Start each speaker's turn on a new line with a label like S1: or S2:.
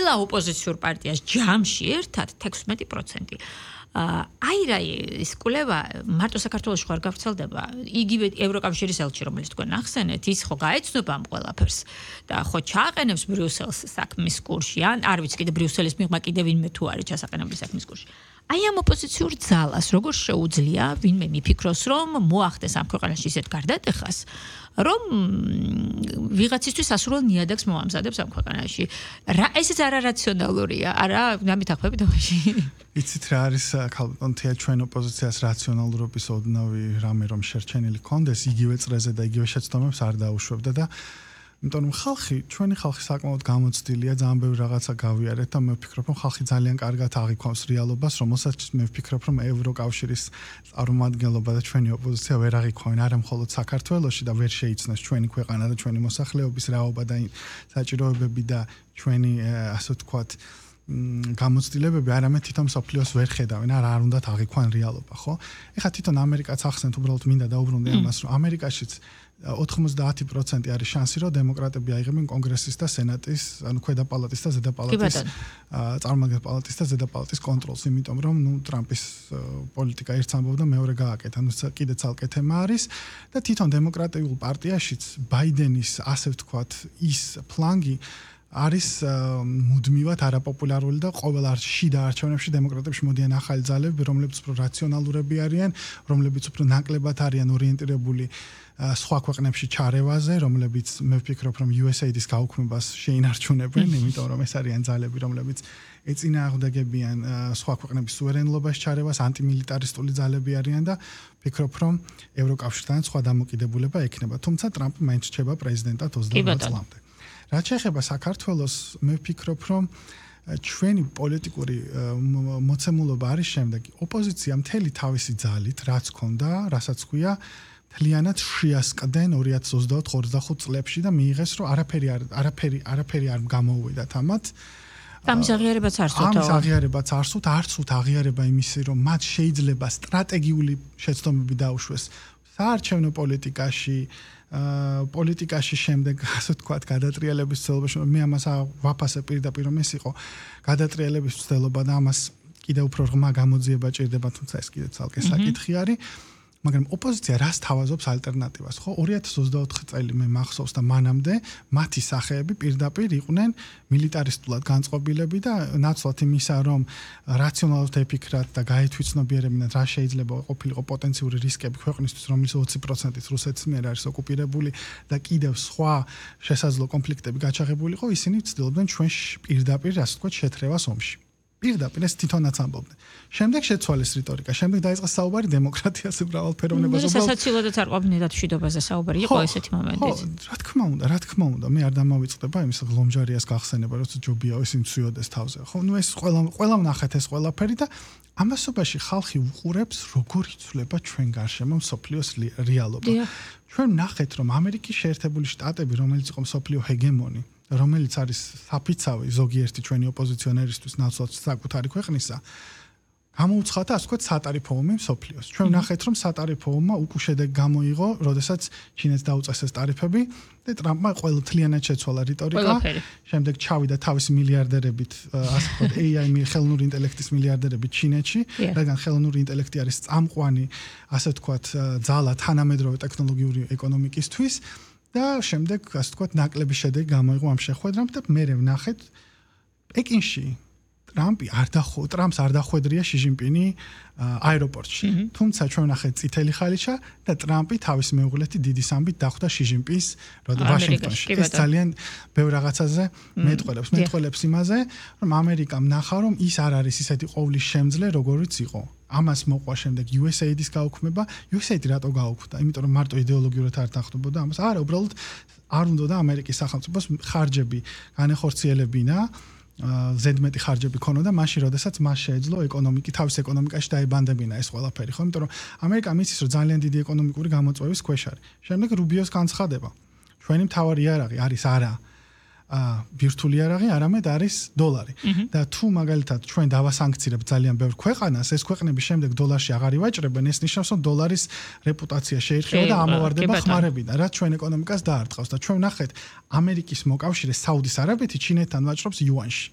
S1: ყველა ოპოზიციურ პარტიას ჯამში ერთად 16%. აირა ის კვლევა მარტო საქართველოში ხარ გავრცელდება. იგივე ევროკავშირის ელჩი, რომელიც თქვენ ახსენეთ, ის ხო გაეცნობა ამ ყველაფერს და ხო ჩააყენებს ბრიუსელს საქმის კურსში, ან არ ვიცი კიდე ბრიუსელის მიღმა კიდე ვინმე თუ არის ჩასაყენებელი საქმის კურსში. აი ამ ოპოზიციურ ძალას როგორ შეუძლია ვინმე მიფიქროს, რომ მოახდეს ამ ქვეყანაში ისეთ გარდატეხას, რომ ვიღაცისთვის ასურველ ნიადაგს მოამზადებს ამ ქვეყანაში. ესეც არარაციონალურია, არა, დამითახვებით ამაში.
S2: იცით რა არის ქალბატონთია ჩვენ ოპოზიციას რაციონალურობის ოდნავი რამე რომ შერჩენილი კონდეს, იგივე წრეზე და იგივე შეცდომებს არ დაუშვებდა და იმიტომ რომ ჩვენი ხალხი საკმაოდ გამოცდილია, ძალიან ბევრი რაღაცა გავიარეთ და მე ვფიქრობ, რომ ხალხი ძალიან კარგად აღიქვამს რეალობას, რომელსაც მე ვფიქრობ, რომ ევროკავშირის წარმომადგენლობა და ჩვენი ოპოზიცია ვერ აღიქვამენ არა მხოლოდ საქართველოში და ვერ შეიცნოს ჩვენი ქვეყანა და ჩვენი მოსახლეობის რაობა და საჭიროებები და ჩვენი ასე ვთქვათ გამოცდილებები არამედ თვითონ სოფლიოს ვერ ხედავენ, არ უნდათ აღიქვან რეალობა, ხო? ეხლა თვითონ ამერიკაც ახსენეთ, უბრალოდ მინდა დაუბრუნდე ამას, რომ ამერიკაშიც 90% არის შანსი, რომ დემოკრატები აიღებენ კონგრესის და სენატის, ანუ ქვედა პალატის და ზედა პალატის წარმომადგენელი პალატის და ზედა პალატის კონტროლს, იმიტომ რომ ტრამპის პოლიტიკა ერთს ამბობდა, მეორე გააკეთა, კიდე ცალკე თემა არის და თვითონ დემოკრატიულ პარტიაშიც ბაიდენის ასე ვთქვათ ის ფლანგი არის მუდმივად არაპოპულარული და ყოველ შიდა არჩევნებში დემოკრატებში მოდიან ახალი ძალები, რომლებიც უფრო რაციონალურები არიან, რომლებიც უფრო ნაკლებად არიან ორიენტირებული სხვა ქვეყნებში ჩარევაზე, რომლებიც მე ვფიქრობ, რომ USAID-ის გაუქმებას შეინარჩუნებენ, იმიტომ რომ ეს არიან ძალები, რომლებიც ეწინააღმდეგებიან სხვა ქვეყნების სუვერენობას ჩარევას, ანტიმილიტარისტული ძალები არიან და ვფიქრობ, რომ ევროკავშირთან სხვა დამოკიდებულება ექნება. თუმცა ტრამპი მაინც რჩება პრეზიდენტად 28 წლამდე. რაც შეეხება საქართველოს, მე ვფიქრობ, რომ ჩვენი პოლიტიკური მოცემულობა არის შემდეგი. ოპოზიცია მთელი თავისი ძალით, რაც ქონდა, რასაც ქვია, მთლიანად შეასყდნენ 2024-25 წლებში და მიიღეს, რომ არაფერი არ გამოუვიდათ ამათ.
S1: ამის აღიარებაც არ სურთ.
S2: ამის აღიარებაც არ სურთ, არც უთთ აღიარება იმისი, რომ მათ შეიძლება სტრატეგიული შეცდომები დაუშვეს საარჩევნო პოლიტიკაში შემდეგ, ასე ვთქვათ, გადატრიალების ცდილობაში, მე ამას ვაფასებ პირდაპირ, რომ ეს იყო გადატრიალების ცდილობა და ამას კიდევ უფრო ღრმა გამოძიება ჭირდება, თუმცა ეს კიდე ცალკე საკითხი არის. მაგრამ ოპოზიცია რას თავაზობს ალტერნატივას, ხო? 2024 წელი მე მახსოვს და მანამდე მათი სახეები პირდაპირ იყვნენ მილიტარისტულად განწყობილები და ნაცვლად იმისა, რომ რაციონალურად ეფიქრათ და გაითვითცნობიერებინათ, რა შეიძლება ყოფილიყო პოტენციური რისკები ქვეყნისთვის, რომელიც 20%-ით რუსეთის მიერ არის ოკუპირებული და კიდევ სხვა შესაძლო კონფლიქტები გაჩაღებულიყო, ისინი ცდილობდნენ ჩვენ პირდაპირ, ასე ვთქვათ, შეთრევას ომში. პირდაპირ ეს თვითონაც ამბობდნენ. შემდეგ შეცვალეს რიტორიკა, შემდეგ დაიწყეს საუბარი დემოკრატიაზე, მრავალფეროვნებაზე.
S1: სასაცილოდაც არ ყოფნიდათ მშვიდობაზე საუბარი, იყო ესეთი მომენტიც.
S2: რა თქმა უნდა, მე არ დამავიწყდება იმის გლომჯარიას გახსენება, როცა ჯობია ის იმცუიოდეს თავზე. ხო, ნუ ეს ყველა ვნახეთ ეს ყველაფერი და ამასობაში ხალხი უყურებს, როგორ იცვლება ჩვენ გარშემო მსოფლიოს რეალობა. ჩვენ ვნახეთ, რომ ამერიკის შეერთებული შტატები, რომელიც იყო მსოფლიო ჰეგემონი, რომელიც არის საფიცავი ზოგიერთი ჩვენი ოპოზიციონერისთვის ნაცვლად საკუთარი ქვეყნისა, გამოუცხადა, ასე ვთქვათ, სატარიფო ომი მსოფლიოს. ჩვენ ვნახეთ, რომ სატარიფო ომმა უკვე შედეგი გამოიღო, როდესაც ჩინეთს დაუწესეს ტარიფები და ტრამპმა ყველთლიანად შეცვალა რიტორიკა. შემდეგ ჩავიდა თავისი მილიარდერებით, ასე ვთქვათ, AI ხელოვნური ინტელექტის მილიარდერებით ჩინეთში, რადგან ხელოვნური ინტელექტი არის წამყვანი, ასე ვთქვათ, ძალა თანამედროვე ტექნოლოგიური ეკონომიკისთვის. და შემდეგ, ასე ვთქვათ, ნაკლები შედეგი გამოიღო ამ შეხვედრამ და მე ვნახეთ პეკინში ტრამპს არ დახვედრია ში ჟინპინი აეროპორტში. თუმცა ჩვენ ვნახეთ წითელი ხალიჩა და ტრამპი თავის მეუღლეთი დიდი სამბით დახვდა ში ჟინპინს ვაშინგტონში. ეს ძალიან ბევრ რაღაცაზე მეტყველებს იმაზე, რომ ამერიკამ ნახა, რომ ის არ არის ისეთი ყოვლის შემძლე, როგორიც იყო. ამას მოყვა შემდეგ USAID-ის გაუქმება. USAID რატო გაუქმდა? იმიტომ რომ მარტო იდეოლოგიურად არ თანხმდებოდა ამას. არა, უბრალოდ არ უნდოდა ამერიკის სახელმწიფოს ხარჯები განეხორციელებინა, ზედმეტი ხარჯები ქონოდა მაშინ, როდესაც მას შეეძლო თავის ეკონომიკაში დაებანდებინა ეს ყველაფერი, ხო? იმიტომ რომ ამერიკა მისის, რომ ძალიან დიდი ეკონომიკური გამოწვევის ქვეშ არის. შემდეგ რუბიოს განცხადება. ჩვენი მთავარი იარაღი არის არა ვირტუალური იარაღი, არამედ არის დოლარი. და თუ მაგალითად ჩვენ დავასანქცირებთ ძალიან ბევრ ქვეყანას, ეს ქვეყნები შემდეგ დოლარში აღარ ივაჭრებენ, ეს ნიშნავს, რომ დოლარის რეპუტაცია შეირჩევა და ამოვარდება ხმარებიდან, რაც ჩვენ ეკონომიკას დაარტყავს და ჩვენ ვნახეთ ამერიკის მოკავშირე საუდის არაბეთი ჩინეთთან ვაჭრობს იუანში.